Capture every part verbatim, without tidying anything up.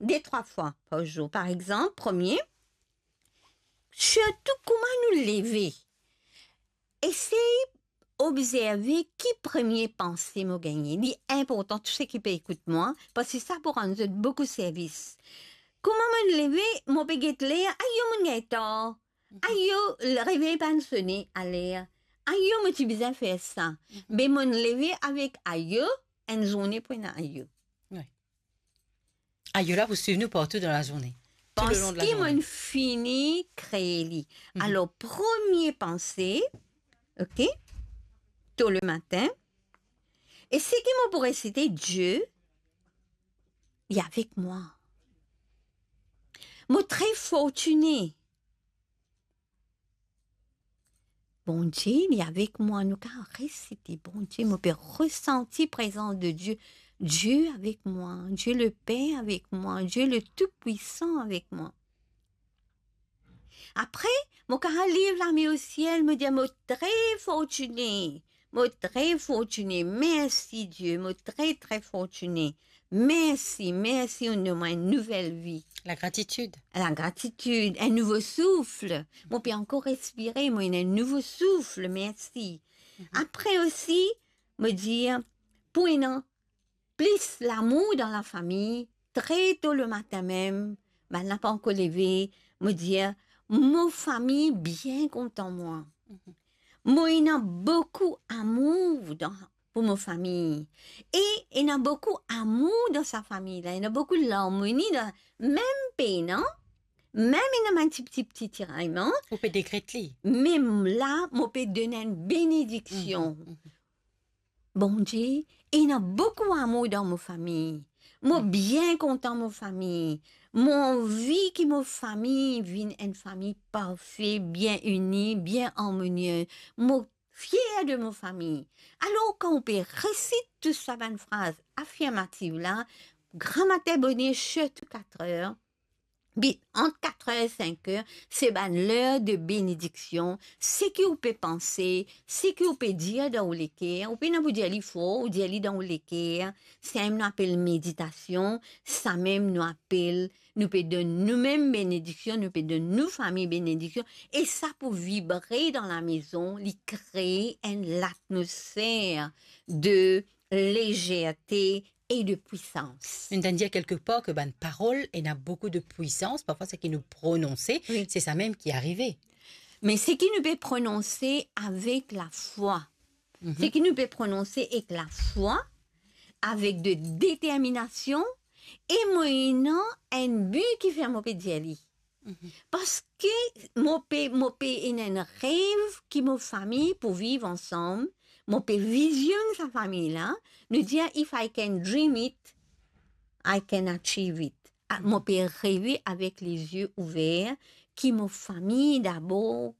de trwa fwa par zour. Par exanp, premie, sirtou kouma nou leve. Esey obzerve ki premie panse mo gagne. Li inportan, tou seki pe ekout mwa, parski sa pou rann zot boukou servis. Kouma mo leve, mo pe get ler, ayo, mo gagn tar. Ayo, revey pa'nn sone aler. Ayo, mo ti bizin fer sa. Be mo leve avek ayo, enn zourne pou ena ayo. Wi. Ayo la pou swiv nou partou dan lazourne. Tou le lon de lazourne. Parski mo fini kree li. Alor, premie panse, ok, to le matin, e seki mo pou resite, Die, li avek mwa. Mo tre fortine. Bondie, li avek mwa, nou kapav resite, Bondie, mo pe resanti prezans de Die. Die avek mwa, Die le Per avek mwa, Die le Toupwisan avek mwa. Apre, mo kapav lev lame osiel, mo dir, mo tre fortine, mo tre fortine, mersi Die, mo tre, tre fortine. Mersi, mersi, ou donn mwa enn nouvel vi. Lagratitid. Lagratitid, enn nouvo souf. Mo pe ankor respire, mo ena enn nouvo souf, mersi. Apre osi, mo dir, pou ena plis lamour dan lafami, tre to le matin mem, bann la pa ankor leve, mo dir, mo fami bien kontan mwa. Mo ena boukou amour dan pou mo fami. E ena boukou amour dan sa fami la, ena boukou larmoni dan, mem pena, mem ena bann ti, ti, ti tirayman. Ou pe dekret li. Mem la, mo pe donn enn benediksion. Mhm, mhm. Bondie, ena boukou amour dan mo fami. Mo bien kontan mo fami. Mo anvi ki mo fami vinn enn fami parfe, bien ini, bien armonie. Mo fier de mo fami. Alor, kan ou pe resit tou sa bann fraz afirmatif la, gramatin boner, sirtou katrer, bi-, ant katrer e sinker, se bann ler de benediksion. Seki ou pe panse, seki ou pe dir dan ou leker, ou pena pou dir li for, ou dir li dan ou leker, samem nou apel meditasion, samem nou apel nou pe donn noumem benediksion, nou pe donn nou fami benediksion, e sa pou vibre dan lamezon, li kree enn latmosfer de lezerte e de pwisans. Nou tann dir kelkepar ke bann parol ena boukou de pwisans, parfwa seki nou prononse, wi, se samem ki arive. Me seki nou pe prononse avek lafwa, mhm, seki nou pe prononse ek lafwa, avek de determinasion, e mo ena enn bi ki fer mo pe dir li. Mhm. Parski mo pe, mo pe ena enn rev ki mo fami pou viv ansam, mo pe vizionn sa fami la, nou dir, "If I can dream it, I can achieve it." Ah, mo pe reve avek lezie ouver ki mo fami dabor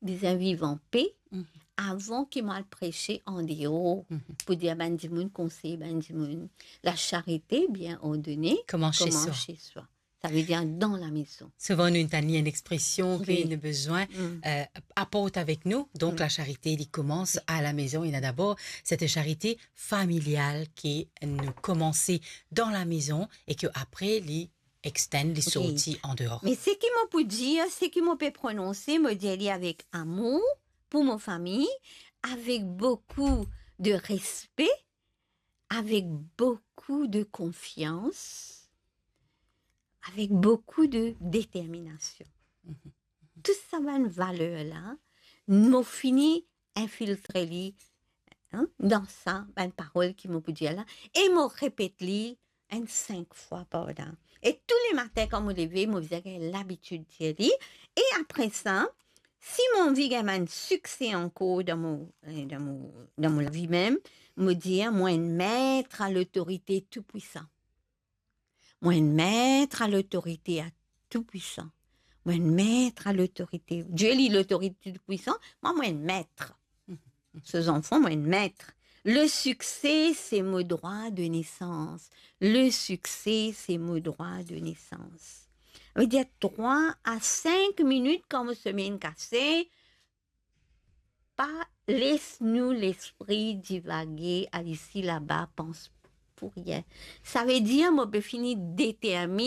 bizin viv anpe, mhm, avan ki mo al prese andeor, mhm, pou dir bann dimoun, konsey bann dimoun. La charite bien ordonee commence chez soi. Commence chez soi. Savedir dan lamezon. Souvan nou tann li enn expresion ke, wi, nou bizin, mm, euh, aport avek nou. Donk, mm, la charite, li koumans, wi, a lamezon. Ena dabor set charite familial ki nou koumanse dan lamezon e ki apre li extend, li, wi, sorti andeor. Me seki mo pou dir, seki mo pe prononse, mo dir li avek amour pou mo fami, avek boukou de respe, avek boukou de konfians, avek boukou de determinasion. Mhm. Tou sa bann valer la, mo fini infiltre li, hein, dan sa bann parol ki mo pou dir la, e mo repet li enn sink fwa par la. E tou le matin kan mo leve, mo bizin gagn labitid dir li. E apre sa, si mo anvi gagn bann sikse ankor dan mo, eh, dan mo, dan mo lavi mem, mo dir, mo enn met a lotorite toupwisan. Mo enn met a lotorite a Toupwisan. Mo enn met a lotorite. Die li lotorite toupwisan, mwa mo enn met. So zanfan, mo enn met. Le sikse, se mo drwa de nesans. Le sikse, se mo drwa de nesans. Savedir trwa a sink minit kan mo someinn kase, pa les nou lespri divage, al isi laba, pans pou rien. Savedir mo pe fini determinn